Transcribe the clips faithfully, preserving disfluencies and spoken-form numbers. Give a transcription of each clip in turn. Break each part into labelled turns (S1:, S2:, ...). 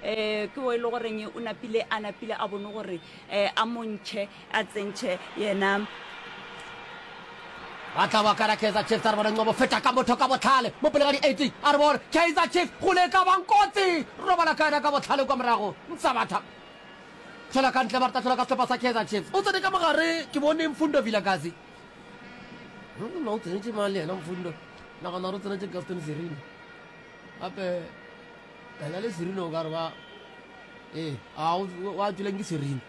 S1: um ke o e le goreng o napile a napile a bone gore um a montšhe a tsentšhe yena.
S2: Ba tla ba kana Kaizer Chiefs, a re bone Ncobo feta ka motho ka bohlale mo pele ga di eighteen, a re bone Kaizer Chiefs go le ka bang kotsi, robala ka yena ka bohlale kwa morago Nsabatha tšwela ka ntle, ba re tla tšwela ka sehlopha sa Kaizer Chiefs. O tsene ka mogare, ke bone Mfundo Vilakazi. Nna o tsenetše mang le yena Mfundo? Nagana gore o tsenetše Gaston Sirino. Gape yena le Sirino o ka re ba ee, a o a tšweleng ke Sirino.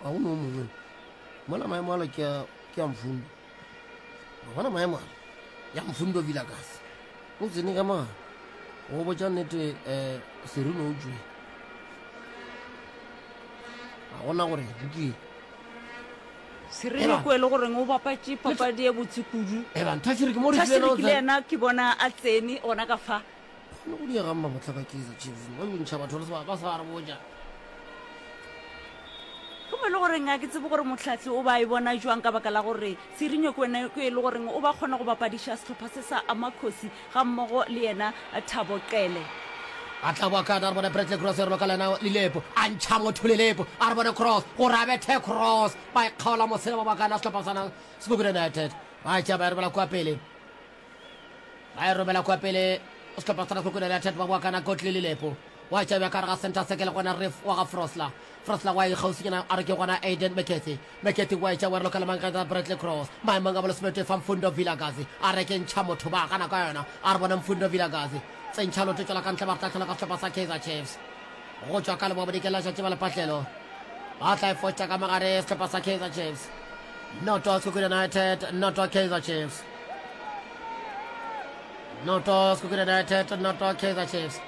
S2: Ga go no mongwe. Mola maemo ala ke a ke a Mfundo. Wa bona maemo ala ya Mfundo Vilakazi. O tsene ka mogare. Go botša nnete um Sirino o tšwele. Ga gona gore o tšwele.
S1: Sirino ko e le goreng o bapatše papadi e botse kudu.
S2: Eban Thashiri ke mo re
S1: Thashiri le yena ke bona a tsene gona ka fa.
S2: Kgone go diega mma botlhaka Kaizer Chiefs. Ba yo ntšha batho ba sa re botša.
S1: Ke mo e le goreng a ke tsebe gore mohlahli o ba e bona jwang ka baka la gore Sirino ke wena ke e le goreng o ba kgona go bapadiša sehlopha se sa Amakhosi ga mmogo le yena Thabo Qele.
S2: A tla boa ka a re bone Bradley Cross e roloka le yena Lilepo a ntšha motho Lilepo a re bone Cross gore a bethe Cross ba e kgaola mosela ba bakana sehlopha sa Sekhukhune United ba tšea ba e romela kua pele ba e romela kua pele sehlopha sa Sekhukhune United ba boa kana Godly Lilepo wa tšea bja ka gare ga center circle gona Ref wa ga Frosler Frosler wa e kgauswinyana a re ke gona Aiden McCarthy McCarthy wa etša wa re lokela mang Bradley Cross maemong a bolesomete fa Mfundo Vilakazi a re ke ntšha motho ba gana ka yona a re bona Mfundo Vilakazi tsentšha loto tšwela ka ntle ba re tla ka sehlopha sa Kaizer Chiefs go tšwa ka leboa bodikela letšatši ba lepatlelo ba tla e fotša ka mogare sehlopha sa Kaizer Chiefs noto Sekhukhune United noto Kaizer Chiefs noto Sekhukhune United noto Kaizer Chiefs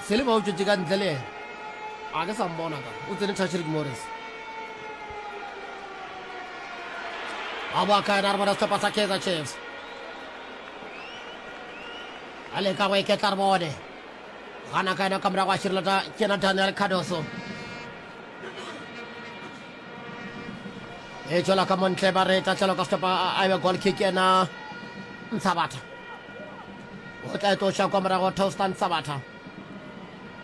S2: Selema o tšwetše ka ntle le yena a ke sa mmona ka o tsene Tashrik Morris a boa ka yena re bona sehlopha sa Kaizer Chiefs a leka go iketla re bone gana ka yena ka morago a šireletša ke yena Daniel Cardoso e tšwela ka montle ba re tahlelo ka sehlopha a ebe goal kick yena Ntshabatha o tla e tloša kwa morago Toaster Ntshabatha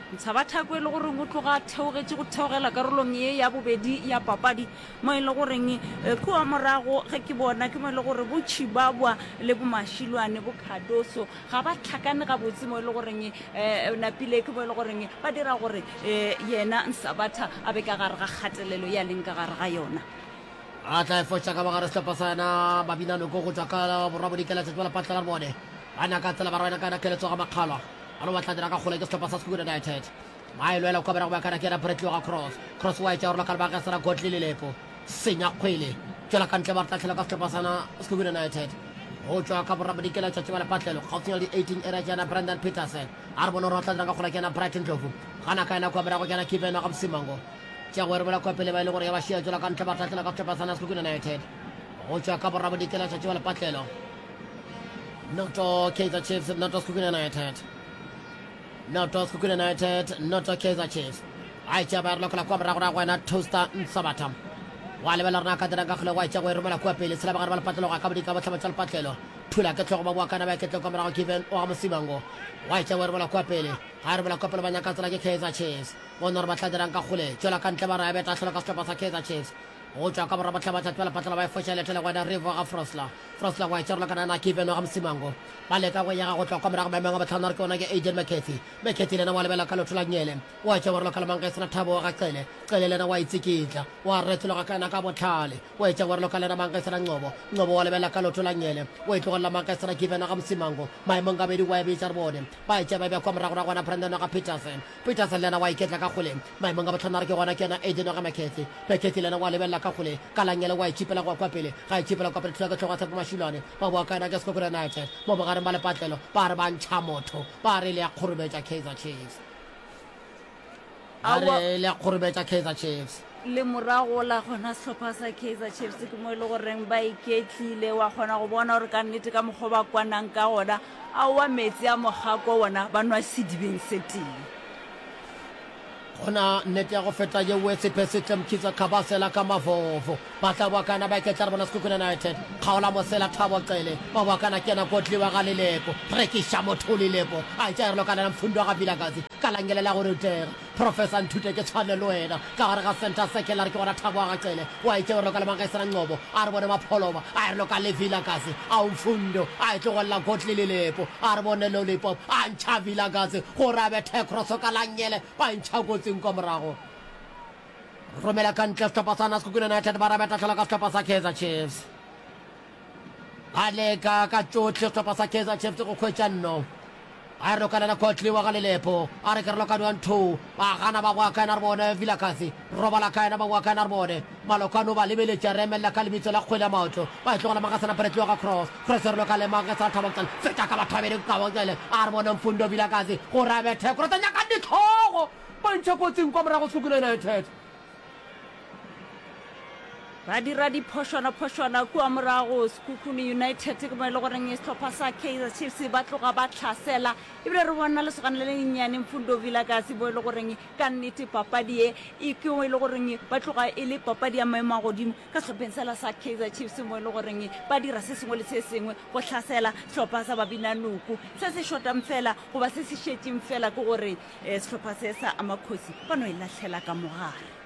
S1: Ntshabatha ko e le goreng o tloga a theogetše go theogela karolong ye ya bobedi ya papadi mo e le goreng kua morago ge ke bona ke mo e le gore bo Chibabwa le bo Mashilwane bo Cardoso ga ba tlhakane gabotse mo e le goreng um napile ke mo e le goreng ba dira gore um yena Nsabatha a be ka gare ga kgatelelo ya leng ka gare ga yona.
S2: A tla e foša ka bogare sehlopha sa yena Babinanoko go tšwa ka borwa bodikela tšatši ba lepatla la bone ba nyaka tsela ba rwena ka yena keletso ga makgalwa ba no batla dira ka kgole ke sehlopha sa Sekhukhune United ba e lwela kwa morago ba kana ke yena Bradley wa ga Cross Cross wa etša gore lokale ba gesera Godly Lelepo senya kgwele tšwela ka ntle ba re tlahlela ka sehlopha sa Sekhukhune United go tšwa ka borwa bodikela tšatši ba lepatlelo kgauswinyana le di eighteen area ke yena Brandon Petersen a re bone gore ba tla dira ka kgole ke yena Brighton Ndlovu gana ka yena kwa morago ke yena Kevin wa ga Msimango tša go erebola kwa pele ba e le gore ya ba šia tšwela ka ntle ba tlahlela ka sehlopha sa Sekhukhune United go tšwa ka borwa bodikela tšatši ba lepatlelo noto Kaizer Chiefs noto Sekhukhune United noto Sekhukhune United noto Kaizer Chiefs a etša ba re lokola kwa morago ra go wena Toaster Nsabatha wa lebelela rena ka dirang ka kgole wa etša go e romela kua pele tshela bagare ba lepatlelo ga ka bodika bohlaba tša lepatlelo thula ke tlhogo ba boa kana ba ketle kwa morago Kevin wa ga Mosimango wa etša go e romela kua pele ga e romela kua pele ba nyaka tsela ke Kaizer Chiefs bona gore ba tla dirang ka kgole tšwela ka ntle ba re a beta hlolo ka sehlopha sa Kaizer Chiefs go tšwa ka borwa bohlaba tša tšwela patlela ba e foša letele go wena Rivo ga Frosler Frosler wa etša rola kana na Kevin wa ga Mosimango ba leka go yega go tloga kwa morago maemong a bohlano a re ke ona ke Aiden McCarthy McCarthy le yena wa lebela ka lotho la nyele wa etša wa rola ka lemang ge sena Thabo ga Cele Cele le yena wa itsikitla wa retologa ka yena ka bohlale wa etša wa rola ka le yena mang ge sena Ncobo Ncobo wa lebela ka lotho la nyele wa itlogelela mang ge sena Given ga Mosimango maemong gabedi wa e bitša re bone ba etša ba bja kwa morago ra gona Brandon ga Peterson Peterson le yena wa iketla ka kgole maemong a bohlano a re ke gona ke yena Aiden ga McCarthy McCarthy le yena wa lebelela ka kgole ka la nyele wa itšhipela go ya kwa pele ga itšhipela kwa pele thula ke hlogo ya Tshepo Mashilwane ba boa ka yena ke Sekhukhune United mo bogareng ba lepatlelo ba re ba ntšha motho ba re le ya kgorobetša Kaizer Chiefs ba re le ya kgorobetša Kaizer Chiefs
S1: Le morago la gona sehlopha sa Kaizer Chiefs ke mo e le goreng ba iketlile wa kgona go bona gore ka nnete ka mokgwa ba kwanang ka gona aowa meetse a mogako wona ba nwa sedibeng se tee.
S2: Gona nnete ya go feta yeo Sephesihle Mkhize Khabasela ka mavovo ba tla boakana ba iketla re bona Sekhukhune United kgaola mosela Thabo Cele ba boakana ke yena Kotliwa ga Lelepo rekiša motho Lelepo a etša e re lokanela Mfundo ga Vilakazi ka Ka langele la go rutega. Professor Nthute ke tshwane le wena. Ka gare ga center circle a re ke gona Thabo wa ga Cele. Wa itše o re loka le Mangesana Ngcobo. A re bone Mapholoba. A e re loka le Vilakazi. A o Mfundo. A e tlogelela Godly Lilepo. A re bone Lollipop. A ntšha Vilakazi gore a bethe cross ka langele. Ba e ntšha kotsing kwa morago. Romela ka ntle sehlopha sa Sekhukhune United ba rabeta hlola ka sehlopha sa Kaizer Chiefs. Ba leka ka tšohle sehlopha sa Kaizer Chiefs go hwetša nno. A re lokanana Kotli wa ga Lelepo. A re ke re lokane wa ntho. Ba gana ba boa ka yena re bone Vilakazi. Robala ka yena ba boa ka yena re bone. Malokane o ba lebeletše a re emelela ka lebitso la kgwele ya maoto. Ba e tlogela Magasana Bradley wa ga Cross. Cross e re loka le Magasana Thabo Cele. Feta ka batho ba babedi Thabo Cele. A re bone Mfundo Vilakazi gore a bethe Cross. Nyaka ditlhogo. Ba ntšha kotsing kwa morago Sekhukhune United.
S1: Ba dira diphošwana-phošwana kua morago Sekhukhune United ke mo e le goreng sehlopha sa Kaizer Chiefs ba tloga ba hlasela ebile re bona lesogana le lennyane Mfundo Vilakazi mo e le goreng ka nnete papadi ye e ke mo e le goreng ba tloga e le papadi ya maemo a godimo ka sehlopheng sela sa Kaizer Chiefs mo e le goreng ba dira se sengwe le se sengwe go hlasela sehlopha sa Babinanuku se se šotang fela goba se se šetšeng fela ke gore eh, sehlopha se sa Amakhosi ba no e lahlela ka mogare.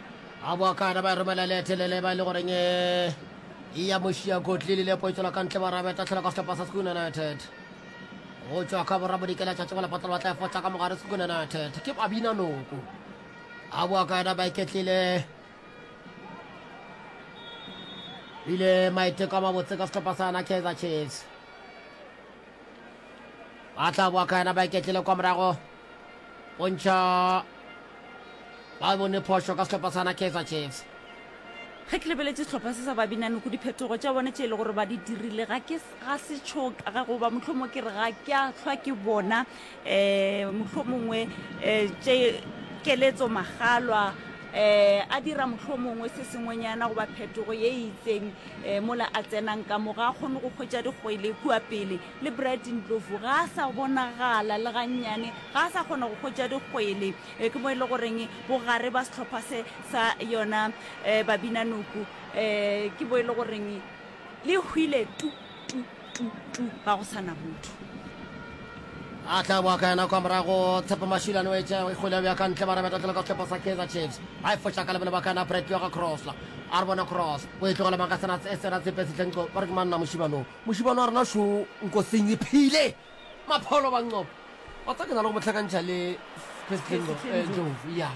S2: A boa ka yena ba e romela le telele ba e le goreng e ya mošia kotli le lepo e tswela ka ntle ba rabeta tlhela ka sehlopha sa Sekhukhune United go tšwa ka borwa bodikela tšatši go lepatla ba tla e fotša ka mogare Sekhukhune United ke babina noko a boa ka yena ba iketlile bile maiteko a mabotse ka sehlopha sa yona Kaizer Chiefs ba tla boa ka yena ba iketlile kwa morago go ntšha ba bone phošo ka sehlopha sa Kaizer Chiefs.
S1: Ge ke lebeletše sehlopha se sa Babinanoko, diphetogo tša bona tše e le gore ba di dirile ga ke ga se tšho ga goba mohlomongwe ke re ga ke a hlwa ke bona um mohlomongwe um tše keletso magalwa um a dira mohlomongwe se sengwenyana goba phetogo ye e itseng um mola a tsenang ka mo ga a kgone go hwetša dikgwele kua pele le Bright Ndlovu ga a sa bonagala le gannyane ga a sa kgona go hwetša dikgwele e ke mo e le goreng bogare ba sehlopha se sa yona um Babinanuku um ke mo e le goreng le hwile tu tu tu tu ga go sana motho.
S2: A tla boa ka yena kwa morago Tshepo Mashilane o etša kgwele ya ka ntle ba rabeta tlelo ka sehlopha sa Kaizer Chiefs ba e foša ka lebelo ba ka yena Bradley wa ga Crossla a re bona Cross o e tlogela mang ka sena e sena tsepe setleng ba re ke manna mošibano mošibano wa rena šo nkoseng e phile mapholo ba nqobo wa tsa ke na le go mo hlakantšha le Ndlovu ya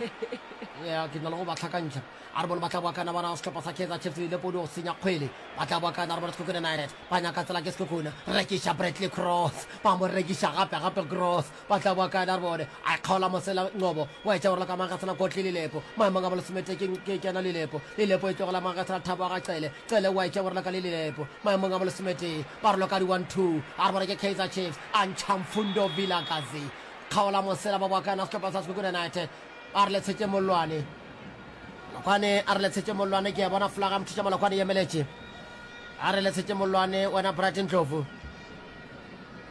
S2: ya ke na le go ba hlakantšha a re bone ba tla boa kana bona sehlopha sa Kaizer Chiefs le podi go senya kgwele ba tla boa kana re bone Sekhukhune United ba nyaka tsela ke Sekhukhune rekiša Bradley Cross ba mo rekiša gape gape Cross ba tla boa kana re bone a kgaola mosela Ngcobo wa etša gore ka mang ga sena kotli Lilepo maemong a bolesomete ke ke kena Lilepo Lilepo e tlogela mang ga sena Thabo ga Cele Cele wa etša gore ka le Lilepo maemong a bolesomete ba re loka di one two a re bone ke Kaizer Chiefs a ntšha Mfundo Vilakazi kgaola mosela ba boa kana sehlopha sa Sekhukhune United a re le tshetše mollwane Malokwane a re le tshetše mollwane ke a bona flaga mothuša Malokwane emeletše a re le tshetše mollwane wena Bright Ndlovu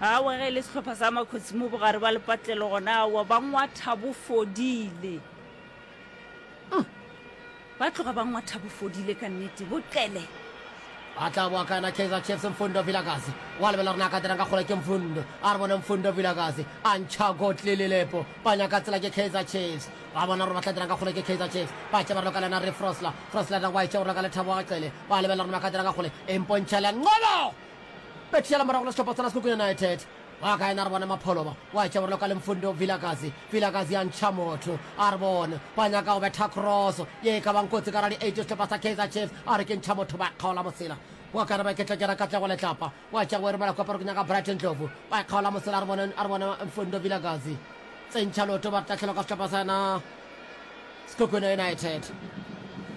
S1: Awa ge e le sehlopha sa Makhosi mo bogare ba lepatlelo gona awa ba ngwatha bo fodile ba tloga ba ngwatha bo fodile ka nnete bo qele
S2: a tla boa ka yena Kaizer Chiefs Mfundo Vilakazi wa lebela rena ka dirang ka kgole ke Mfundo a re bone Mfundo Vilakazi a ntšha Godly Lilepo ba nyaka tsela ke Kaizer Chiefs ba bona gore ba tla dirang ka kgole ke Kaizer Chiefs ba tše ba re loka le yena Re Frosler Frosler na wa etša gore loka le Thabo wa Cele ba lebelela rena ba ka dirang ka kgole e mpontšha le Ngolo betšhela morago le sehlopha sa Sekhukhune United wa ka ena re bone Mapholoba wa etša gore loka le Mfundo Vilakazi Vilakazi a ntšha motho a re bone ba nyaka go betha cross ye e ka bang kotsi ka ra di-eight sehlopha sa Kaizer Chiefs a re ke ntšha motho ba kgaola mosela wa ka re ba ketla kera katlego letlapa wa etša go e romela kwa pere ke nyaka Brighton Ndlovu ba kgaola mosela a re bone a re bone Mfundo Vilakazi tsentšha loto ba tahlelwa ka sehlopha sa yena Sekhukhune United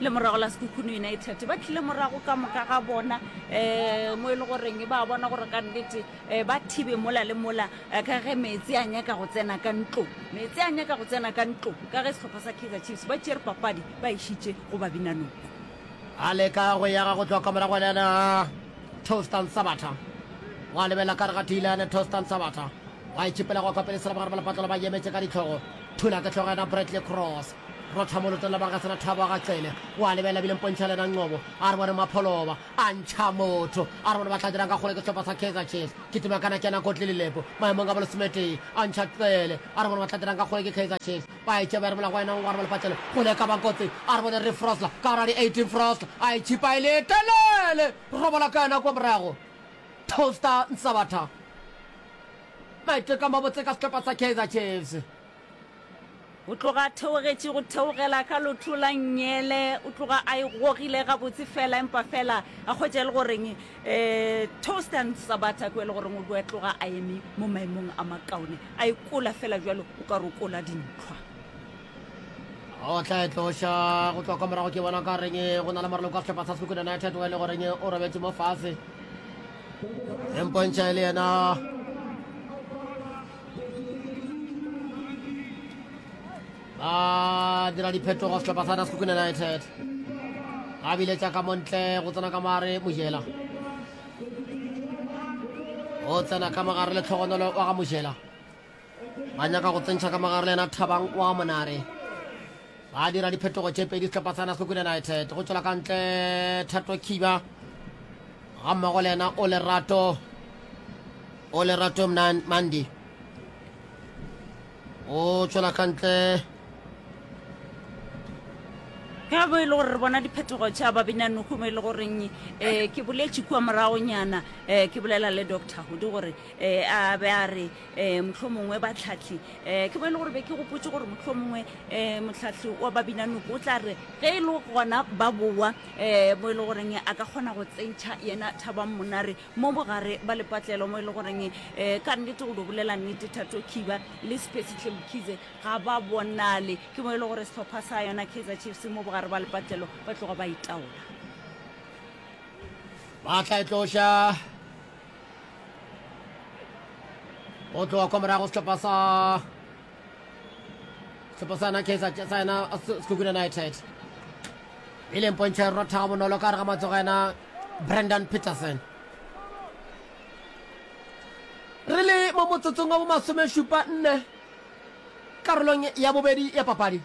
S1: le morago la Sekhukhune United ba tlile morago ka moka ga bona um mo e le goreng ba bona gore ka nnete um ba thibe mola le mola eh, ka ge meetse a nyaka go tsena ka ntlo meetse a nyaka go tsena ka ntlo ka ge sehlopha sa Kaizer Chiefs ba tšere papadi ba išitše go Babinanoko
S2: a leka go yaga go tloga ka morago le yena Tostan Sabata wa lebela ka re ga Tilane Tostan Sabata wa itšhipela go ka pele sela bogare ba lepatlelo ba emetše ka ditlhogo thula ke hlogo yena Bradley Cross Rotha molotong la ba ga sena thabo ga Cele. Wa lebelela bile mpontšha lena Nqobo. A re bone Mapholoba a ntšha motho. A re bone ba tla dirang ka kgole ke sehlopha sa Kaizer Chiefs. Kitima kana kena kotli Lilepo. Maemong a bolesometee a ntšha Cele. A re bone ba tla dirang ka kgole ke Kaizer Chiefs. Ba e tšea ba e romela go yena Ngware wa lepatlelo. Kgole e ka ba kotsi. A re bone Reeve Frosler ka gare ga di eighteen Frosler a e tšhipa e le telele. Robola ka yena kwa morago. Toaster Nsabatha. Maiteko a mabotse ka sehlopha sa Kaizer Chiefs.
S1: O tloga a theogetše go theogela ka lotho la nngele, o tloga a e gogile gabotse fela, empa fela a hwetša e le goreng um Toaster Nsabatha ke e le goreng o be a tloga a eme mo maemong a makaone, a e kola fela bjalo o ka re o kola dintlhwa.
S2: O tla e tloša go tloga kwa morago ke bona ka reng go na le moraloko wa sehlopha sa Sekhukhune United o e le goreng o robetše mo fase. E mpontšha e le yena ba dira diphetogo sehlopha sa Sekhukhune United. Ba biletša ka montle go tsena ka mogare Mojela. O tsena ka mogare le tlhogonolo wa ga Mojela. Ba nyaka go tsentšha ka mogare le yena Thabang wa Monare. Ba dira diphetogo tše pedi sehlopha sa Sekhukhune United. Go tšwela ka ntle Thato Khiba ga mmogo le yena o Lerato o Lerato Mandi. O tšwela ka ntle
S1: Ge bo e le gore re bona diphetogo tša babinanoko mo e le goreng um ke boletše kua moragonyana um ke bolela le Doctor Hudi gore um a be a re um mohlomongwe batlhahli um ke mo e le gore be ke gopotše gore mohlomongwe um mohlahli wa babinanoko o tla re ge e le gona ba boa um mo e le goreng a ka kgona go tsentšha yena Thabang Monare mo bogare ba lepatlelo mo e le goreng um ka nnete go do bolela nnete Thato Khiba le Siphesihle Mkhize ga ba bonale. Ke mo e le gore sehlopha sa yona Kaizer Chiefs mo bogare ba lepatlelo ba tloga ba itaola.
S2: Ba tla e tloša go tloga kwa morago sehlopha sa sehlopha sa yona Kaizer sa yona Sekhukhune United e leng pontšho e rotha ga bonolo ka gare ga matsogo a yena Brandon Peterson. Re le mo motsotsong wa bomasomešupa nne karolong ya bobedi ya papadi.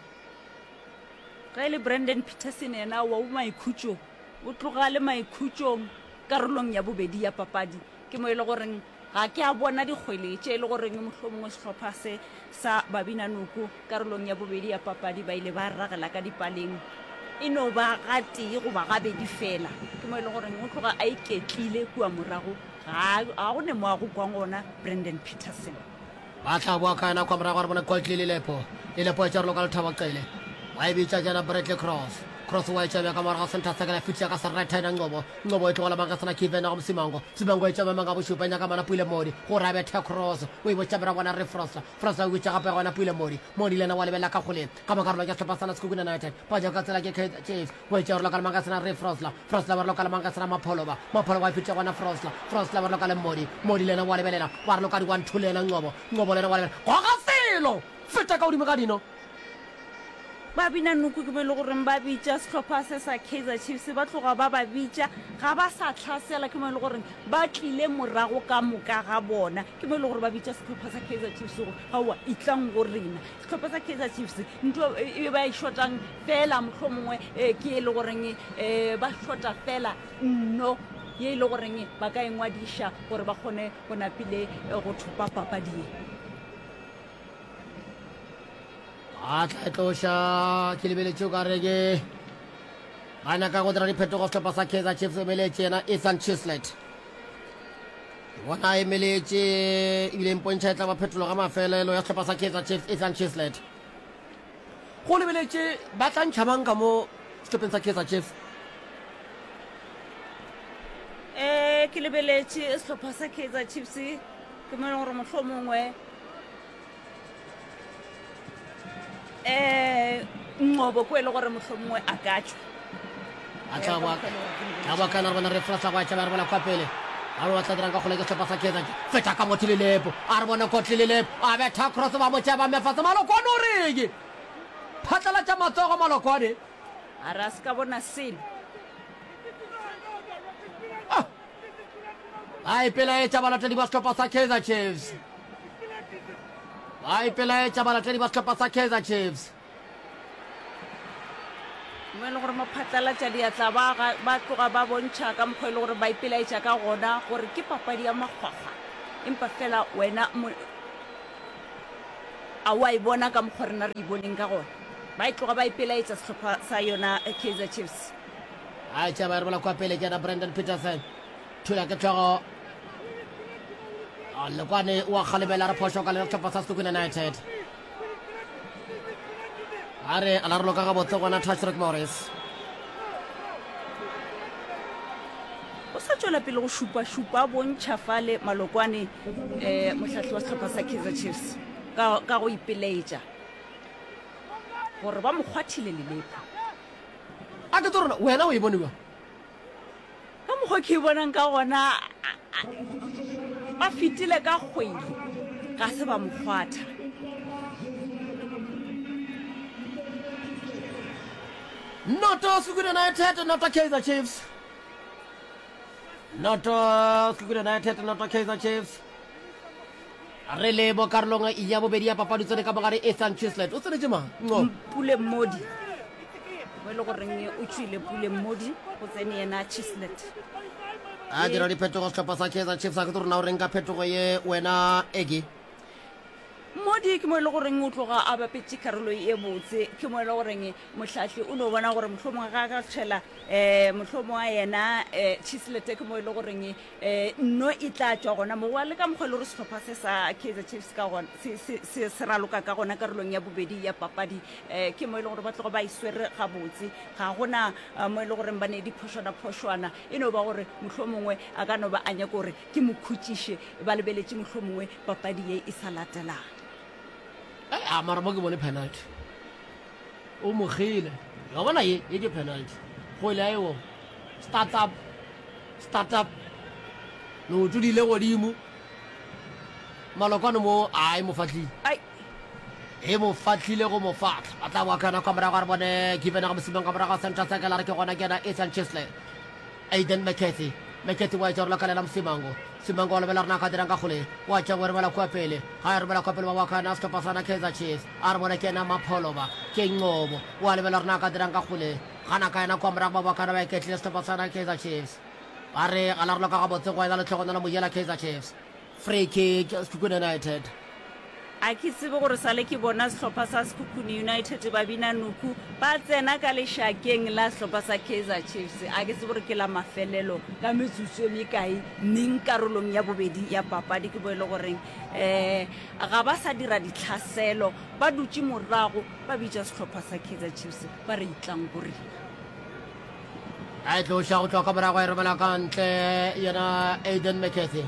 S1: Ge e le Brandon Peterson yena wa o maikhutšong, o tloga a le maikhutšong karolong ya bobedi ya papadi. Ke mo e le goreng ga ke a bona dikgwele tše e le goreng mohlomongwe sehlopha se sa Babinanoko karolong ya bobedi ya papadi ba ile ba ragela ka dipaleng e no ba gatee goba gabedi fela. Ke mo e le goreng o tloga a iketlile kua morago, ga ga go ne mo a go kwang gona Brandon Peterson.
S2: Ba tla boa ka yena kwa morago re bona Goldly Lilepo. Lilepo e tšerelo ka Lethabo Cele. Wa e bitša jana Bradley Cross. Cross wa e tšea bja ka morago ga center circle ya fetiša ka serethe yena Ncobo. Ncobo e tlogela mang sena Kevin go Msimango. Msimango e tšea maemong a bošupa e nyaka mana Pule Mmodi gore a bethe Cross. O e botša morago gona Re Frosler. Frosler o bitša gape gona Pule Mmodi. Mmodi le yena wa lebelela ka kgoleng. Ka mo karolong ya sehlopha sa Sekhukhune United. Ba ja ka tsela ke Kaizer Chiefs. Go etša gore lokala mang ka sena Re Frosler. Frosler ba re lokala mang ka sena Mapholoba. Mapholoba a fetša gona Frosler. Frosler ba re lokale Mmodi. Mmodi le yena wa lebelela. Ba re loka di one two le yena Ncobo. Ncobo le yena wa lebelela. Goga selo! Feta ka godimo ga dino.
S1: Ba bina noko ke mo e le goreng ba bitša sehlopha se sa Kaizer Chiefs, ba tloga ba ba bitša, ga ba sa hlasela, ke mo e le goreng ba tlile morago ka moka ga bona, ke mo e le gore ba bitša sehlopha sa Kaizer Chiefs gore aowa etlang go rena. Sehlopha sa Kaizer Chiefs ntho e ba e shotang fela mohlomongwe ke e le goreng ba shota fela nno ye e le goreng ba ka e ngwadiša gore ba kgone go napile go thopa papadi ye.
S2: A tla e tloša ke lebeletše o ka re ke ba nyaka go dira diphetogo sehlopha sa Kaizer Chiefs emeletše yena Ethan Chislet bona a emeletše ebile mpontšha e tla ba phetolo ga mafelelo ya sehlopha sa Kaizer Chiefs Ethan Chislet go lebeletše ba tla ntšha mang ka mo sehlopheng sa Kaizer Chiefs
S1: um ke lebeletše sehlopha sa Kaizer Chiefs ke mo e leng gore mohlomongwe um Nqobo ko e le gore mohlomongwe a ka tšwa
S2: a tla ba tla ba kana re bona re frasa go tšaba re bona kwa pele a re batla dirang ka kgole ke sehlopha sa Kaizer feta ka motho lelepo a re bone kotli lelepo a betha cross ba mo tšea ba mefa se malokwane o reng phatlalatša matsogo malokwane
S1: a re a se ka bona selo
S2: ah Ba ipelaetša balatedi ba sehlopha sa Kaizer Chiefs. Ba ipelaetša balatedi ba sehlopha sa Kaizer Chiefs.
S1: Mo e le gore maphatlalatša diatla ba ga, ba tloga ba bontšha ka mokgwa e le gore ba ipelaetša ka gona gore ke papadi ya makgwakgwa, empa fela wena mo, a wa e bona ka mokgwa rena re e boneng ka gona. Ba e tloga ba ipelaetša sehlopha sa yona Kaizer Chiefs.
S2: A tšea ba e romela kua pele ke yena Brandon Petersen. Thula ke hlogo. A Lekwane wa kgalemela re phošo ka le sehlopha sa Sekhukhune United. A re a la roloka gabotse gona Tashreeq Morris.
S1: O sa tšwela pele go šupa-šupa bontšha fale Malokwane eh, mohlahli wa sehlopha sa Kaizer Chiefs ka, ka go ipelaetša gore ba mo kgwathile lelepu.
S2: A ke tlo rona wena o e bone bjang?
S1: Ka mokgwa ke e bonang ka gona, ba fetile ka kgwele, ga se ba mo kgwatha.
S2: Noto Sekhukhune United, noto Kaizer Chiefs. Noto Sekhukhune United, noto Kaizer Chiefs. Re le mo karolong ya bobedi ya papadi tsene ka mogare Ethan Chislett. O tsenetše mang? Nqo.
S1: Pule Mmodi. Mo e le goreng o tšwile Pule Mmodi go tsene yena Chislett.
S2: A dira diphetogo sehlopha sa Kaizer Chiefs a ke tlo rona o reng ka phetogo ye wena Egi?
S1: Mmodi ke mo e le goreng o tloga a bapetše karolo ye botse, ke mo e le goreng mohlahli o no bona gore mohlomongwe ga a ka tšhela um mohlomongwe wa yena um Chislett ke mo e le goreng um nno e tla tšwa gona mo. Wa le ka mokgwa e le gore sehlopha se sa Kaizer Chiefs ka gona se, se, se, se raloka ka gona karolong ya bobedi ya papadi um ke mo e le gore ba tloga ba e swere gabotse, ga gona mo e le goreng ba ne diphošwana-phošwana, e no ba gore mohlomongwe a ka no ba a nyaka gore ke mo khutšiše ba lebeletše mohlomongwe papadi ye e sa latelang.
S2: A mara mo ke bone penalty. O mogile. Ya bona ye, ye ke penalty. Go ile ayo. Start up. Start up. No tsudile godimo. Malokwane mo a e mo fatlile.
S1: Ai.
S2: E mo fatlile go mo fatla. Ba tla boa kana kwa morago re bone Given ga mosimeng ka morago center circle a re ke gona ke yena Ethan Chislett. Aiden McCarthy. McCarthy wa etša go la Msimango. Simango wa lebela rena ka dirang ka kgole. Wa tša go romela kua pele. Ga e romela kua pele ba wa kana sehlopha sa na Kaizer Chiefs. A re bone ke yena Mapholoba. Ke Ngcobo. Wa lebela rena ka dirang ka kgole. Gana ka yena kua morago ba wa kana ba iketlile sehlopha sa na Kaizer Chiefs. Ba re ga la roloka gabotse go ena letlhogonolo Mojela Kaizer Chiefs. Free kick Sekhukhune United.
S1: A ke tsebe gore sale ke bona sehlopha sa Sekhukhune United ba bina nuku ba tsena ka lešakeng la sehlopha sa Kaizer Chiefs. A ke tsebe gore ke la mafelelo ka metsotso e mekae neng karolong ya bobedi ya papadi ke bo e le goreng um ga ba sa dira ditlhaselo, ba dutše morago ba bitša sehlopha sa Kaizer Chiefs ba re itlang go rena.
S2: A e tloša go tloga ka morago e romela ka ntle yena Aiden McCarthy.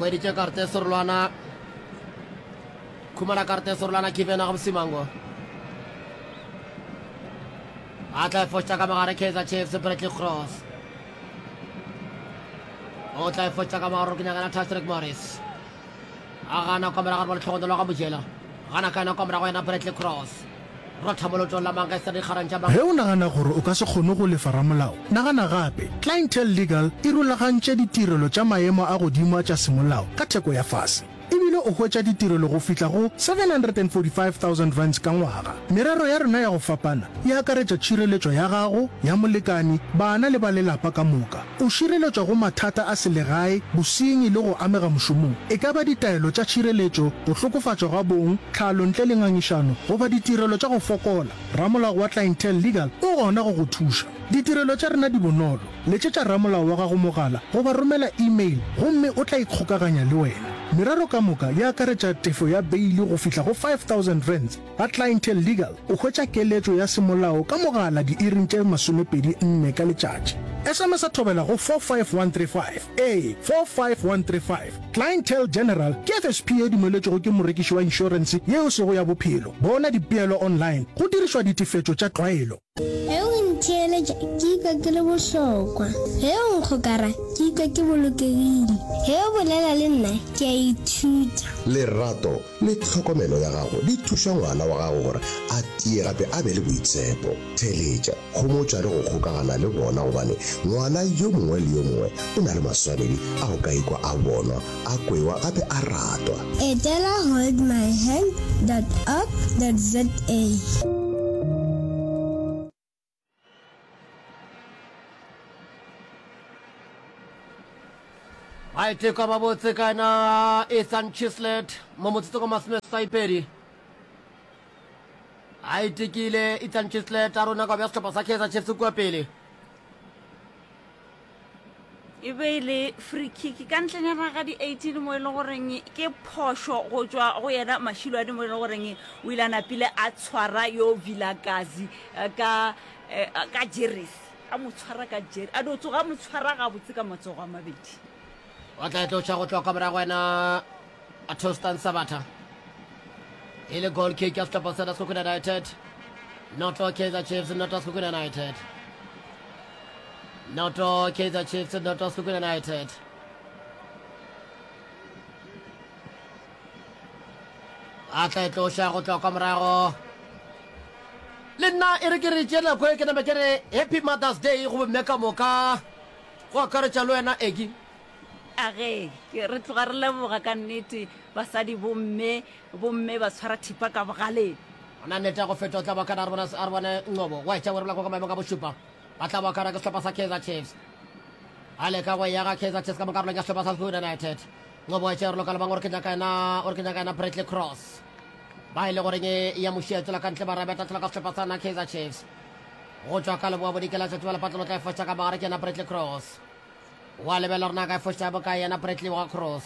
S2: Hweditše karte serolwana. Khumana karte serolwana Given ga Msimango. A tla e foša ka mogare Kaizer Chiefs Bradley Cross. O tla e foša ka mogare ke nyakana Tashreeq Morris. A gana kwa morago ba letlhogonolo ga Mojela. Gana ka yena kwa morago yena Bradley Cross. Rotha molotong la Manchester dikgarang tša
S3: Ge o nagana gore o ka se kgone go lefa ramolao, nagana gape. Clientele Legal e rulagantše ditirelo tša maemo a godimo a tša semolao ka theko ya fase. E bile o hwetša ditirelo go fihla go seven hundred and forty five thousand rands ka ngwaga. Merero ya rena ya go fapana e akaretša tšhireletšo ya gago, ya molekani, bana le ba lelapa ka moka. O šireletšwa go mathata a selegae, bosenyi le go amega mošomong, e ka ba ditaelo tša tšhireletšo, go hlokofatšwa ga bong, tlhalo ntle le ngangišano, goba ditirelo tša go fokola, ramolao wa Clientele Legal o gona go go thuša. Ditirelo tša rena di bonolo. Letšetša ramolao wa gago mogala goba romela email gomme o tla ikgokaganya le wena. Merero ka moka e akaretša tefo ya beili go fihla go five thousand rands. Ga Clientele Legal o hwetša keletšo ya semolao ka mogala diiring tše masomepedi nne ka letšatši. S M S a thobela go four five one three five. Ee, four five one three five. Clientele General ke F S P ye dumeletšwego ke morekiši wa inšorense ye e sego ya bophelo. Bona dipeelo online go dirišwa ditefetšo tša tlwaelo.
S4: Ge o ntheeletša ke ikwa ke le bohlokwa. Ge o nkgokara ke ikwa ke bolokegile. Ge o bolela le nna ke a ithuta.
S5: Lerato le tlhokomelo ya gago di thuša ngwana wa gago gore a tie gape a be le boitshepo. Theeletša, homotša le go kgokagana le bona gobane ngwana yo mongwe le yo mongwe o na le maswanedi a go ka ikwa a bonwa, a kwewa gape a ratwa.
S4: Etela hold my hand dot org dot za.
S2: Maiteko a mabotse ka yena Ethan Chislett mo motsotsong wa masomeseswaipedi. A itekile Ethan Chislett a rona ka bja sehlopha sa Kaizer Chiefs kua pele.
S1: E be e le free kick ka ntlenyana ga di eighteen mo e le goreng ke phošo go tšwa go yena Mashilwane mo e le goreng o ile a napile a tshwara yo Vilakazi ka ka jeresi a mo tshwara ka jeresi a no tsoga a mo tshwara gabotse ka matsogo a mabedi.
S2: O tla e tloša go tloga ka morago wena Tostan Sabata. E le goal kick ya sehlopha sena Sekhukhune United. Noto Kaizer Chiefs, noto Sekhukhune United. Noto Kaizer Chiefs, noto Sekhukhune United. A tla e tloša go tloga ka morago. Le nna e re ke re tše nako e ke name ke re Happy Mother's Day go bomme ka moka go akaretša le wena Eki.
S1: A ge, ke, re tloga re leboga ka nnete, basadi, bomme, bomme ba tshwara thipa ka bogaleng.
S2: Gona nnete ya go feta o tla ba kana a re bone, a re bone Nqobo wa etša werebola kwa ka maemong a bošupa. Ba tla ba kana ke sehlopha sa Kaizer Chiefs. A leka go ya ga Kaizer Chiefs ka mo karolong ya sehlopha sa Sekhukhune United. Nqobo wa etša werebola ka lebang o re ke nyaka yena, o re ke nyaka yena Bradley Cross. Ba e le goreng ya mošia tsela ka ntle ba rabeta tlhola ka sehlopha sa na Kaizer Chiefs. Go tšwa ka leboa bodikela tšatši ba lepatlo tla e foša ka mogare ke yena Bradley Cross. Wa lebelela gore na ka e foša bokae yena Bradley wa Cross.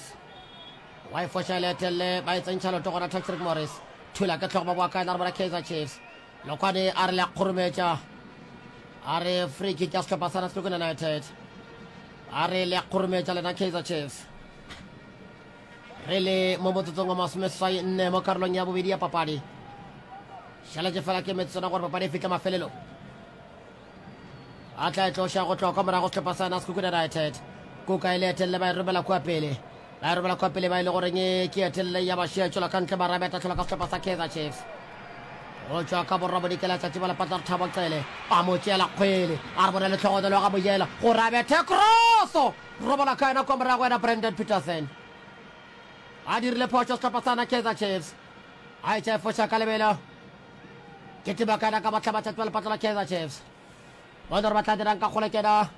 S2: Wa e foša e le etelle ba e tsentšha loto gona Patrick Morris. Thula ke tlhogo ba boa kae na re bona Kaizer Chiefs. Lokwane a re le a kgorometša. A re free kick ya sehlopha sa Sekhukhune United. A re le a kgorometša lena Kaizer Chiefs. Re le mo motsotsong wa masomeseswai nne mo karolong ya bobedi ya papadi. Šaletše fela ke metsotswana gore papadi e fihle mafelelong. A tla e tloša go tloga kwa morago sehlopha sa Sekhukhune United. Kuka e le etelele ba e romela kua pele. Ba e romela kua pele ba e le goreng ke etelele ya bašia tšwela ka ntle mara ba tlhola ka sehlopha sa Kaizer Chiefs. Go tšwa ka borwa bodikela tšatši ba lepatla re Thabo Cele a mo tšeela kgwele a re bone letlhogonolo ga mojela gore a bethe kroso robola ka yena kwa morago yena Brandon Petersen a dirile phošo sehlopha sa Kaizer Chiefs a etša e foša ka lebelo ke tebakana ka bohlaba tšatši ba lepatla la Kaizer Chiefs. Bona gore ba tla dirang ka kgole kena.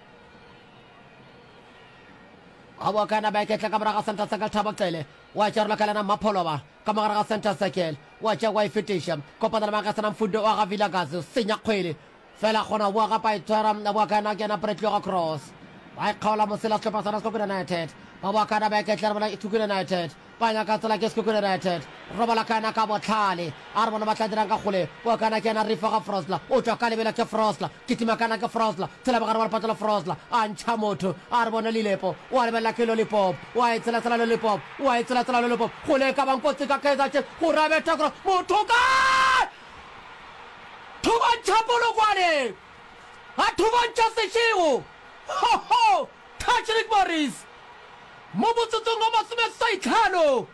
S2: Ga boa kana ba iketla ka morago ga center circle Thabo Cele. Wa tšea rola ka lena Mapholoba ka mogare ga center circle. Wa tšea wa e fetiša. Kopana le Magasana Mfundo wa ga Vilakazi senya kgwele. Fela kgona boa gape a itshwara a boa kana ke yena Bradley ga Cross. Ba ikgaola mosela sehlopha sona Sekhukhune United. Ba boa kana ba iketla re bona Sekhukhune United. Ba nyaka tsela ke Sekhukhune United. Robala ka yena ka bohlale. A re bona ba tla dirang ka kgole. Boa ka yena ke yena Rifa ga Frosler. O tšwa ka lebelo ke Frosler. Kitima ka yena ke Frosler. Tshela bogare wa lepatlo la Frosler. A ntšha motho. A re bone Lilepo. O a lebelela ke Lollipop. O a e tshela tsela Lollipop. O a e tshela tsela Lollipop. Kgole e ka bang kotsi ka Kaizer Chiefs. Go rabetha cross. Motho kae? Thubantšha Polokwane. A thubantšha Seshego. Ho ho! Patrick Morris mo motsotsong wa masomeseswai-tlhano.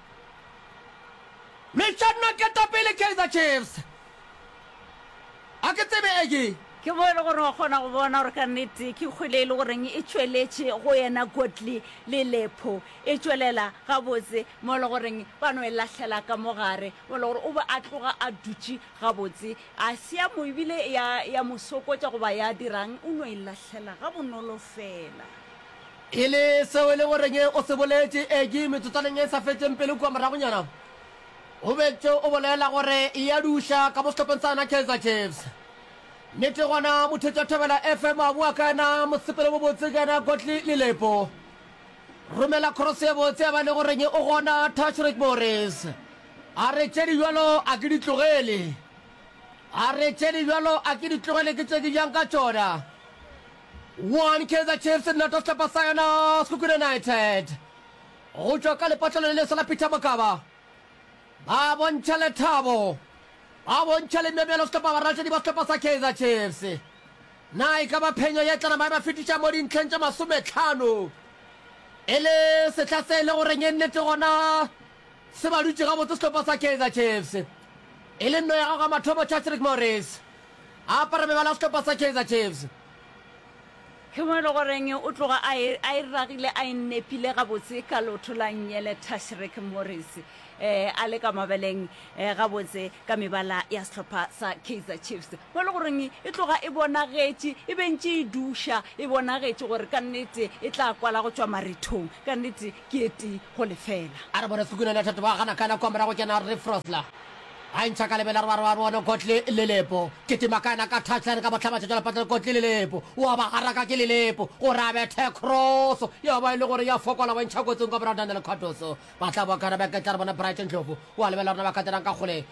S2: Lwetšanna ketapele Kaizer Chiefs. A ke tsebe e ke.
S1: Ke mo e le gore wa kgona go bona gore ka nnete ke kgwele e le goreng e tšweletše go yena Godly le Lepho. E tšwelela gabotse mo e le goreng ba no e lahlela ka mo gare, mo e le gore o be a tloga a dutše gabotse. A se ya mo ebile ya, ya mo sokotša goba ya dirang, o no e lahlela gabonolo feela.
S2: E le seo e le goreng o se boletše, Egi, metsotswaneng e sa fetšeng pelo kua moragonyana, o betše o bolela gore e a duša ka mo sehlopheng sa yona Kaizer Chiefs. Nnete gona, mothetši wa Thobela F M a boa ka yena mosepelo o mobotse ka yena Godly Lilepo. Romela cross ye botse ya ba le goreng o gona Tashreeq Morris. A re tše di bjalo a ke di tlogele. A re tše di bjalo a ke di tlogele ke tše ke bjang ka tšona. One Kaizer Chiefs noto sehlopha sa yona Sekhukhune United. Go tšwa ka lepatlelo le leswa la Peter Mokaba. Ba bontšha lethabo. Ba bontšha lememelo sehlopha baratedi ba sehlopha sa Kaizer Chiefs. Na e ka ba phenyo ye tla nama e ba fetiša mo dintlheng tše masometlhano? E le sehla se e le goreng e nnete gona se ba dutše gabotse sehlopha sa Kaizer Chiefs. E le nno ya gago ya mathomo Chachrick Morris a apara mebala ya sehlopha sa Kaizer Chiefs.
S1: Ke mo e le goreng o tloga a e, a e ragile a e nepile gabotse ka leoto la nngele Tashreeq Morris. um a le ka mabeleng um gabotse ka mebala ya sehlopha sa Kaizer Chiefs, mo e le goreng e tloga e bonagetše e be ntše e duša, e bonagetše gore ka nnete e tla kwala go tšwa marethong. Ka nnete ke e tee go lefela.
S2: A re bone Sekhukhune United ba gana ka nako morago ke na Refrosler a ntšha ka lebela re ba re ba bone Godly Lelepo kitima ka yena ka touchline ka bohlabatšatši la patla Godly Lelepo wa ba garaka ke Lelepo gore a bethe cross ya ba e le gore ya fokola wa ntšha kotsing ka morago Daniel Cardoso ba tla boa kana ba ketla re bone Brighton Ndlovu wa lebelela rena ba katelang ka kgole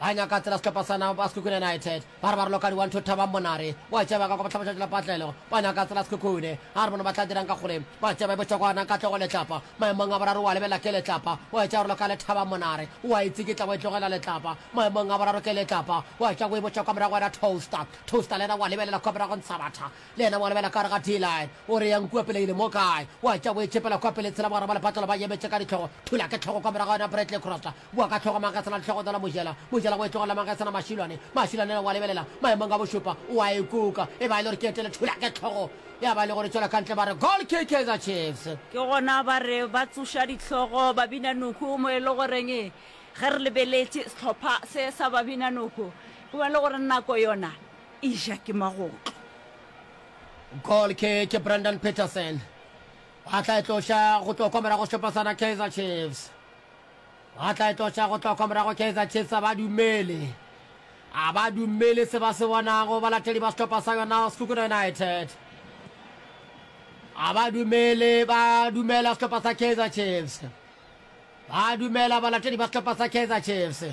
S2: Ba nyaka tsela sehlopha sa na ba Sekhukhune United. Ba re ba raloka di one two Thabang Monare wa tšea ba ka kwa bohlabatšatši la patlelo. Ba nyaka tsela Sekhukhune. A re bone ba tla dirang ka kgole. Ba tšea ba e botša kwa na Katlego Letlapa. Maemong a boraro wa lebelela ke Letlapa. Wa tšea raloka le Thabang Monare. Wa e tsikitla wa e tlogela Letlapa. Maemong a boraro ke Letlapa. Wa tšea o e botša kwa morago wena Toaster. Toaster le yena wa lebelela kwa morago Ntshabatha. Le yena wa lebelela ka gare ga D-line. O re yang kua pele ile mo kae? Wa tšea o e tšhepela kwa pele tshela bogare ba lepatlelo ba emetše ka dihlogo. Thula ke hlogo kwa morago yona Bradley Crossla. Boa ka hlogo Mangesana le hlogo tsela Mojela. Mojela o e tlogela Mangesana Mašilwane. Mašilwane yena wa lebelela maemong a bošupa. O a e kuka. E ba e le gore ke etele thula ke hlogo. Ya ba e le gore e tšwela ka ntle ba re goal kick Kaizer Chiefs.
S1: Ke gona ba re ba tsoša dihlogo ba bina noko mo e le goreng ge re lebeletše sehlopha se sa ba bina noko ke bona e le gore nako yona e ja ke magotlo.
S2: Goal kick ke Brandon Petersen. Ba tla e tloša go tloga kwa morago sehlopha sa na Kaizer Chiefs. Ba tla e tloša go tloga kwa morago Kaizer Chiefs a ba dumele. A ba dumele se ba se bonago balatedi ba sehlopha sa yona Sekhukhune United. A ba dumele ba dumela sehlopha sa Kaizer Chiefs. Ba dumela balatedi ba sehlopha sa Kaizer Chiefs.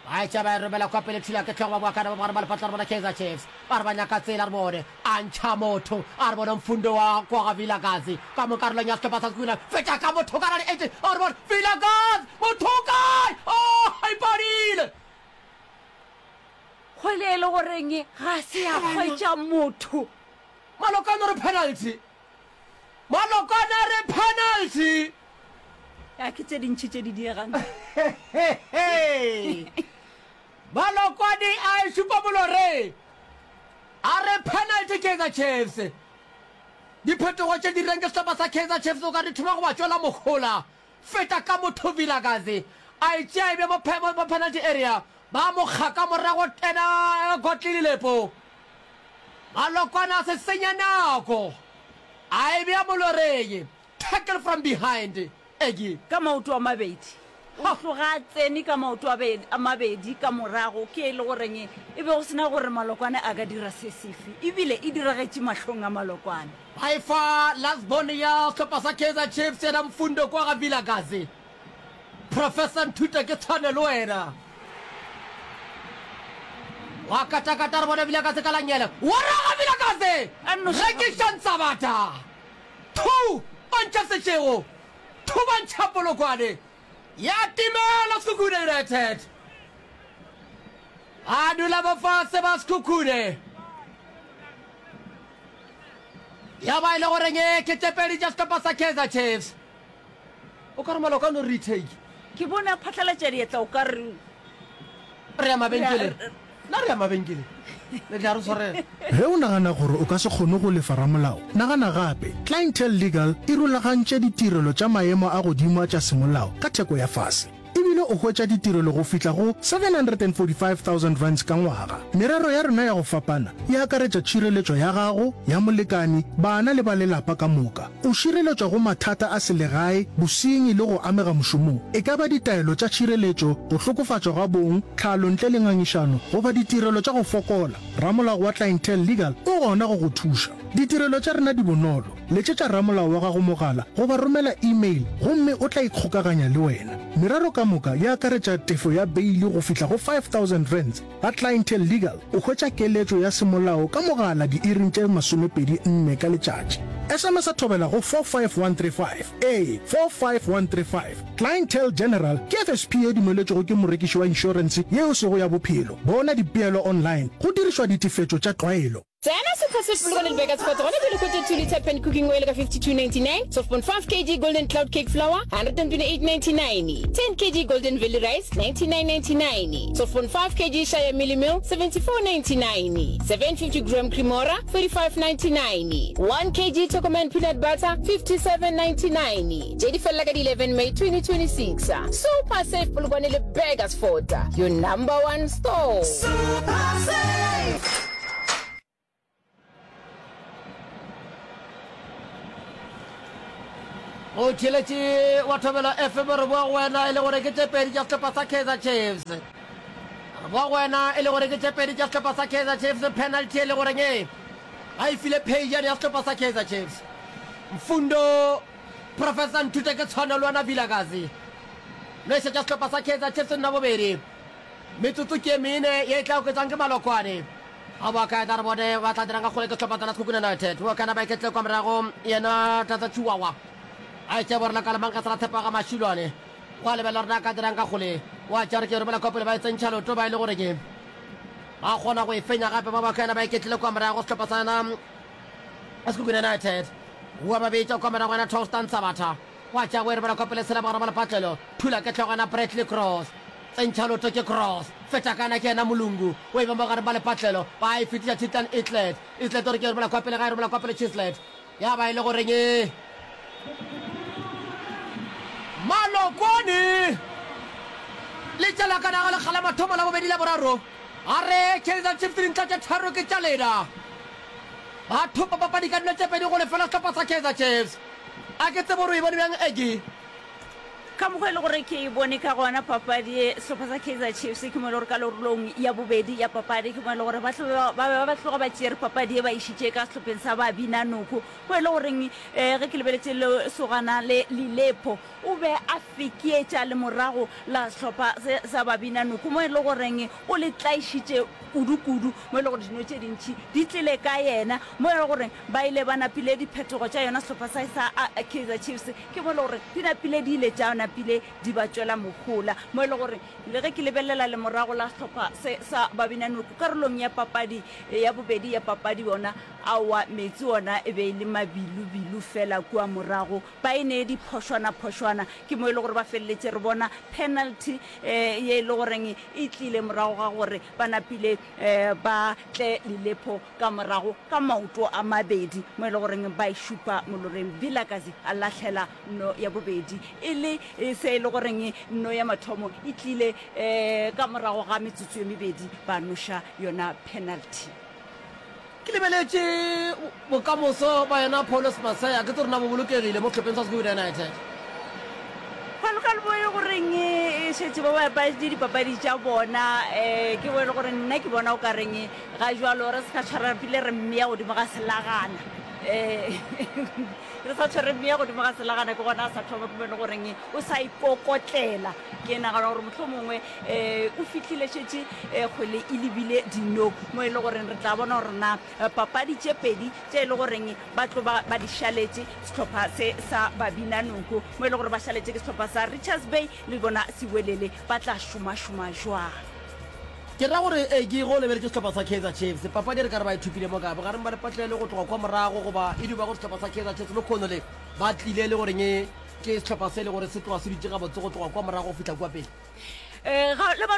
S2: Ba etša ba e romela kwa pele thula ke hlogo ba boa kana ba bogare ba lepatla re bona Kaizer Chiefs. Ba re ba nyaka tsela re bone a ntšha motho a re bone Mfundo wa kwa ga Vilakazi ka mo karolong ya sehlopha sa Sekhukhune feta ka motho ka radi eight a re bone Vilakazi motho o kae oh e padile.
S1: Kgwele e le goreng ga se ya hwetša motho.
S2: Malokane o re penalty. Malokwane a re penalty.
S1: Ya ke tše dintši tše di diegang.
S2: Malokwane a e šupa moloreng. A re penalty Kaizer Chiefs. Diphetogo tše dirileng ke sehlopha sa Kaizer Chiefs o ka di thoma go ba tšwela mohola. Feta ka motho Vilakazi a e tšea e be mo mo penalty area. Ba mo kga ka morago ena Godly Lilepo. Malokwane a se senya nako. A e bea moloreng. Tackle from behind, Eggie.
S1: Ka maoto a mabedi. O tloga a tsene ka maoto a a mabedi ka morago, ke e le goreng e be go se na gore Malokwane a ka dira se sefe. Ebile e diragetše mahlong a Malokwane.
S2: Ba e fa last born ya sehlopha sa Kaizer Chiefs, yena Mfundo kwa ga Vilakazi. Professor Nthuta ke tshwane le wena. Wa katakata re bone Vilakazi ka langele. Wa raga Vilakazi!
S1: A nnoši
S2: Rekiša Ntsabata! Thu! Ba ntšha sešego! Thu! Ba ntšha Polokwane! Ya timela Sekhukhune United! Ba dula mo fase ba Sekhukhune. Ya ba e le goreng ke tše pedi tša sehlopha sa Kaizer Chiefs. O ka re maloka no retake.
S1: Ke bone a phatlalatša diatla o ka re.
S2: Re ya mabenkeleng. Na re ya mabenkeleng? Le tla re swarela.
S3: Ge o nagana gore o ka se kgone go lefa ramolao, nagana gape. Clientele Legal e rulagantše ditirelo tša maemo a godimo a tša semolao ka theko ya fase. E bile o hwetša ditirelo go fihla go seven hundred and forty five thousand rands ka ngwaga. Merero ya rena ya go fapana e akaretša tšhireletšo ya gago, ya molekani, bana le ba lelapa ka moka. O šireletšwa go mathata a selegae, bosenyi le go amega mošomong, e ka ba ditaelo tša tšhireletšo, go hlokofatšwa ga bong, tlhalo ntle le ngangišano, goba ditirelo tša go fokola, ramolao wa Clientele Legal o gona go go thuša. Ditirelo tša rena di bonolo. Letšetša ramolao wa gago mogala goba romela email gomme o tla ikgokaganya le wena. Merero ka moka e akaretša tefo ya beili go fihla go five thousand rands. Ga Clientele Legal o hwetša keletšo ya semolao ka mogala diiring tše masomepedi nne ka letšatši. S M S a thobela go four five one three five, ee, four five one three five. Clientele General ke F S P ye dumeletšwego ke morekiši wa inšorense ye e sego ya bophelo. Bona dipeelo online go dirišwa ditefetšo tša tlwaelo.
S6: Tsena Super Save Polokwane le Burgersfort gona bjale hwetša two litre pan cooking oil ka fifty two ninety nine, twelve point five kg Golden Cloud cake flour hundred and twenty eight ninety nine, ten kg Golden Valley rice ninety nine ninety nine, twelve point five kg Shire mealie meal seventy four ninety nine, seven fifty gram Cremora forty five ninety nine, one kg Chocoman Peanut Butter, fifty-seven ninety-nine. Tše di felela ka di eleven May twenty twenty-six. Super Save Polokwane le Burgersfort, your number one store.
S7: Super Save!
S2: Go theeletše wa Thobela F M re boa go wena e le gore ke tše pedi tša sehlopha sa Kaizer Chiefs. Re boa go wena e le gore ke tše pedi tša sehlopha sa Kaizer Chiefs. Penalty e le goreng e ba e file Pheijane ya sehlopha sa Kaizer Chiefs. Mfundo Professor Nthute ke tshwane le wena Vilakazi. Nošetša sehlopha sa Kaizer Chiefs nna bobedi. Metsotso ke e mene ye e tla oketšwang ke Malokwane. Ga boa kae tla re bone ba tla dirang ka kgole ke sehlopha tsena Sekhukhune United. Bo kana ba iketle kwa morago yena Tata Chihuahua. A etše borela ka lemang ka sela tshepa ga Mashilwane. Wa lebelela rena ka dirang ka kgole. Wa tša re ke romela kwa pele ba e tsentšha loto ba e le gore ke ba kgona go e fenya gape ba ba kana ba iketlile kwa morago sehlopha sa yena Sekhukhune United. Wa ba betša kwa morago yena Tostan Sabatha. Wa tša go e romela kwa pele sela bogare ba lepatlelo. Thula ke hlogo yena Bradley Cross. Tsentšha loto ke Cross. Feta kana ke yena Molungu. O e ba mo gare ba lepatlelo. Ba e fetiša Titlan Islet. Islet o re ke e romela kwa pele ga e romela kwa pele Chislet. Ya ba e le goreng e Malokwane le tšela ka naga lekga la mathomo la bobedi la boraro. A re Kaizer Chiefs dintlha tše tharo ke tša lena. Ba thopa papadi ka dilo tše pedi go lefela sehlopha sa Kaizer Chiefs. A ke tsebe gore o e bone bjang Aggie.
S1: Ka mokgwa e le gore ke e bone ka gona papadi ye, sehlopha sa Kaizer Chiefs ke mo e le gore karolong ya bobedi ya papadi ke mo e le gore ba be ba tloga ba tšere papadi ye ba išitše ka sehlopheng sa ba bina noko, mo e le goreng ge ke lebeletše lesogana le Lilepo o be a fekeetša lemorago la sehlopha se sa ba bina noko, mo e le goreng o le tlaišitše kudu-kudu, mo e le gore dino tše dintši di tlile ka yena, mo e le goreng ba ile ba napile diphetogo tša yona sehlopha sa sa Kaizer Chiefs. Ke mo e le gore di napile di ile tša napile di ba tšwela mohola, mo e le gore le ge ke lebelela lemorago la sehlopha se sa Babinanoko karolong ya papadi ya bobedi ya papadi yona, aowa meetse ona e be e le mabilubilu fela kua morago, ba e nee diphošwana-phošwana. Ke mo e le gore ba feleletše re bona penalty ye e le goreng e tlile morago ga gore ba napile ba tle Lilepo ka morago ka maoto a mabedi mo e le goreng ba e šupa moloreng. Vilakazi a lahlela nno ya bobedi e le se e le goreng nno ya mathomo e tlile ka morago ga metsotso e mebedi ba noša yona penalty.
S2: Ke lebeletše bokamoso ba yena Paulus Masaya, ke tse rena bo bolokegile mo sehlopheng sa Sekhukhune United.
S1: Palokalo bo e goreng e šetše ba bapadi dipapadi tša bona, ke bo e le gore nna ke bona o ka reng ga jwalo re se ka tshwara pile re mmea godimo ga selagana, re sa tshwere mmea godimo ga selagana ke gona a sa thoma, ke mo e le goreng o sa ikokotlela. Ke nagana gore mohlomongwe o fihlile šetše kgwele e lebile dino, mo e le goreng re tla bona gore na papadi tše pedi tše e le goreng ba tlo ba ba di šaletše sehlopha se sa Babinanoko, mo e le gore ba šaletše ke sehlopha sa Richards Bay le bona Siwelele, ba tla šomašoma jwang.
S2: Ke ra gore e ke go lebeletše sehlopha sa Kaizer Chiefs, papadi e re ka re ba e thopile mo ka bogareng ba lepatlelo go tloga kwa morago, goba e duba gore sehlopha sa Kaizer Chiefs lekhono le ba tlile le goreng ke sehlopha se e le gore se tloga se dutše gabotse go tloga kwa morago go fihla kua pele.
S1: Ga le ba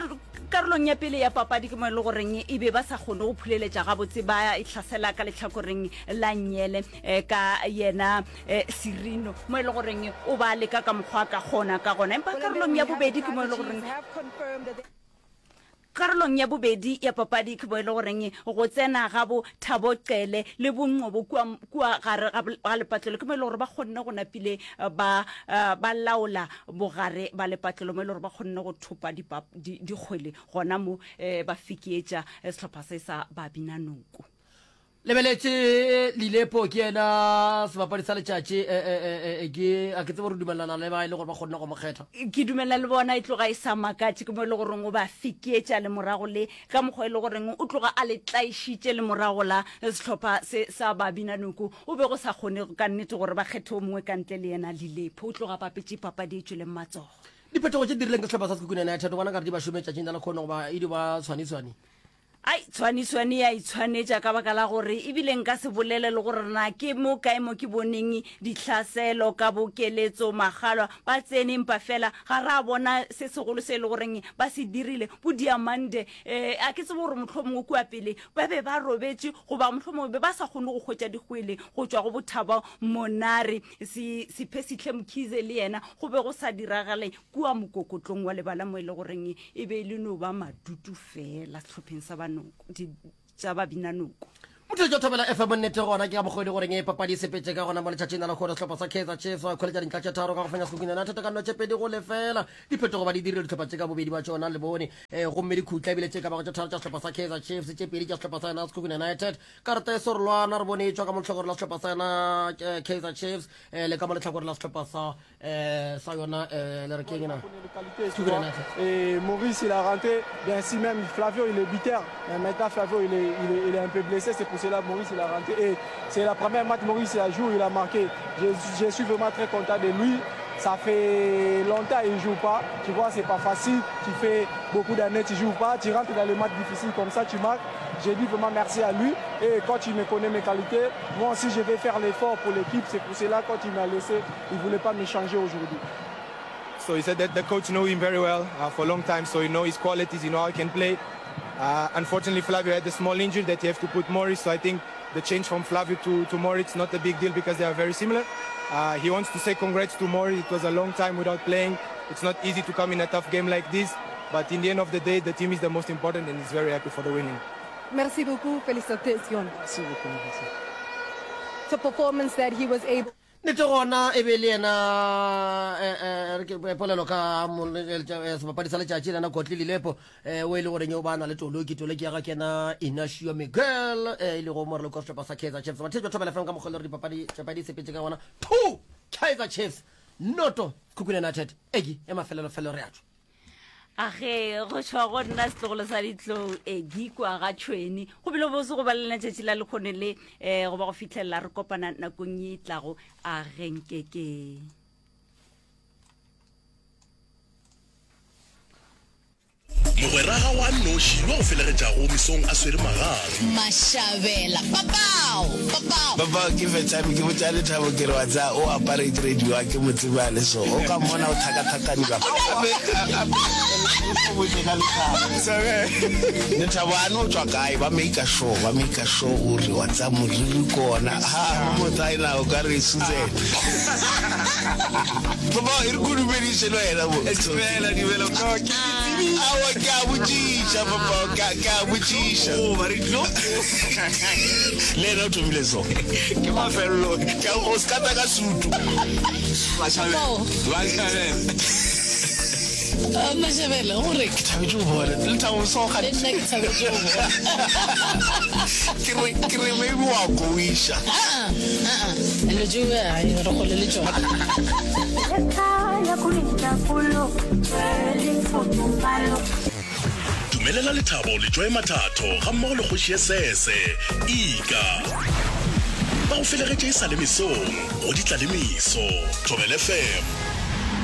S1: karolong ya pele ya papadi ke mo e le goreng e be ba sa kgone go phuleletša gabotse, ba e hlasela ka lehlakoreng la nnyele ka yena Sirino, mo e le goreng o ba leka ka mokgwa a ka kgona ka gona. Empa karolong ya bobedi ke mo e le goreng Karolong ya bobedi ya papadi ke mo e le goreng go tsena ga bo Thabo Cele le bo Nqobo kua, kua gare ga, ga lepatlelo ke mo e le gore ba kgonne go napile ba, ba laola bogare ba lepatlelo, mo e le gore ba kgonne go thopa dipa, di, dikgwele gona mo, ba fekeetša sehlopha se sa Babinanoko.
S2: Lebeletše Lilepo ke yena sebapadi sa letšatši, e, e, e, e, e, ke a ke tsebe gore o dumelelana le ba e le gore ba kgonne go mo kgetha.
S1: Ke dumelelana le bona, e tloga e sa makatše, ke mo e le goreng o ba fekeetša lemorago le ka mokgwa e le goreng o tloga a le tlaišitše lemorago la sehlopha se sa Babinanoko. O be go sa kgonege ka nnete gore ba kgethe o mongwe ka ntle le yena Lilepo. O tloga a bapetše papadi e tšweleng matsogo.
S2: Diphetogo tše di dirileng ke sehlopha sa Sekhukhune United, o bona nkare di ba šome tšatšing la lekhono goba e dio ba tshwani-tshwani?
S1: Ai, tshwaniswane ya itshwanetša ka baka la gore ebile nka se bolele le gore na ke mo kae mo ke boneng ditlhaselo ka bokeletso magalwa ba tsene empa fela ga ra bona se segolo se e le goreng ba se dirile bo diamande um a ke tsebe gore mohlomongwe kua pele ba be ba robetše goba mohlomongwe be ba sa kgone go hwetša dikgwele go tšwa go bothabo monare se sephesihle mkhize le yena go be go sa diragale kua mokokotlong wa lebala mo e le goreng e be e le no ba madutu fela sehlopheng sa banoko di tša babinanoko
S2: Motho Thobela F M nnete gona ke ka mokgwa e le goreng e papadi e sepetše ka gona mo letšatšing la lehono sehlopha sa Kaizer Chiefs ba ikhweletša dintlha tše tharo ka go fenya Sekhukhune United ka nno tše pedi go lefela diphetogo ba di dirile dihlopha tše ka bobedi ba tšona le bone eh, gomme dikhutla ebile tše ka bago tše tharo tša sehlopha sa Kaizer Chiefs tše pedi tša sehlopha sa yona Sekhukhune United karata e sorolwana re bone e tšwa ka mo lehlakore la sehlopha sa yona eh, Kaizer Chiefs eh, le ka mo lehlakore la sehlopha sa eh, sa yona eh, le re keng na
S8: Tu vois. Et Maurice, il a rentré. Bien si même Flavio, il est buteur. Mais maintenant, Flavio, il est, il est, il est un peu blessé. C'est pour cela que Maurice, il a rentré. Et c'est la première match Maurice, il a joué, il a marqué. Je, je suis vraiment très content de lui. Ça fait longtemps qu'il ne joue pas. Tu vois, c'est pas facile. Tu fais beaucoup d'années, tu ne joues pas. Tu rentres dans les matchs difficiles comme ça, tu marques. J'ai dit vraiment merci à lui. Et quand il me connaît mes qualités, moi aussi, je vais faire l'effort pour l'équipe. C'est pour cela, quand il m'a laissé, il ne voulait pas me changer aujourd'hui.
S9: So he said that the coach know him very well uh, for a long time, so he know his qualities, he know how he can play. Uh, unfortunately, Flavio had a small injury that he have to put Maurice, so I think the change from Flavio to, to Moritz not a big deal because they are very similar. Uh, he wants to say congrats to Moritz. It was a long time without playing. It's not easy to come in a tough game like this, but in the end of the day, the team is the most important and he's very happy for the winning.
S10: Merci beaucoup, félicitations.
S8: Merci beaucoup, merci.
S10: The performance that he was able
S2: Nnete gona e be le yena eh, eh, polelo ka sebapadi sa letšatši lena Kotli Lilepo eh, o e le goreng o ba na le toloki toloki ya ga ke yena Inacio Miguel e lego moraloki wa sehlopha sa Kaizer Chiefs batheetši ba Thobela F M ka mokgwa le gore dipapadi papadi e sepetše ka gona two Kaizer Chiefs noto Sekhukhune United eki ya mafelelo-felo re a tšwa.
S1: A ge go tšwa go nna setlogolo sa ditlou e gikwa ga tšhweni go bile bose go ba le lena tšatši la lekgone le um go ba go fitlhelela re kopana nakong ye e tlago a ge nkekeng.
S11: Mogwera gago a nnoši yo a go felegetšago mesong a swere magang.
S12: Mashabela, Papao! Papao!
S13: Papao, Ke fetšame ke botša Lethabo ke re wa tseba o aparate radio a ke mo tsebe a le so o ka mmona o thakathakane bjang. Gape gape o botše ka Lethabo. Lethabo a no tšwa kae ba maker sure ba maker sure o re wa tseba moriri ke ona ha ba mo tsaena o ka re Susan. Papao e re ko dumediše le wena mo.
S14: Dumela dumela no ke
S13: Aowa, ke a botšiša, papa, ke a, ke a botšiša.
S14: Goba re tlo.
S13: Le yena o thomile so.
S14: Ke mafelelo.
S13: Ke a, o se ka tla ka sutu.
S14: Mashabela. Mashabela.
S12: Mashabela, o re.
S13: Ke thabetše go bona. Lethabo, so
S12: Le nna ke thabetše go bona.
S13: Ke re, ke re maybe wa kowiša.
S12: Aa, aa, dilo tšeo, ai, re kgole le tšona.
S11: Dumelela lethabo le Joy Mathatho gammogo le kgoši ye sese, Ika. Ba go felegetše e sa le mesong go di tla le meso. Thobela F M.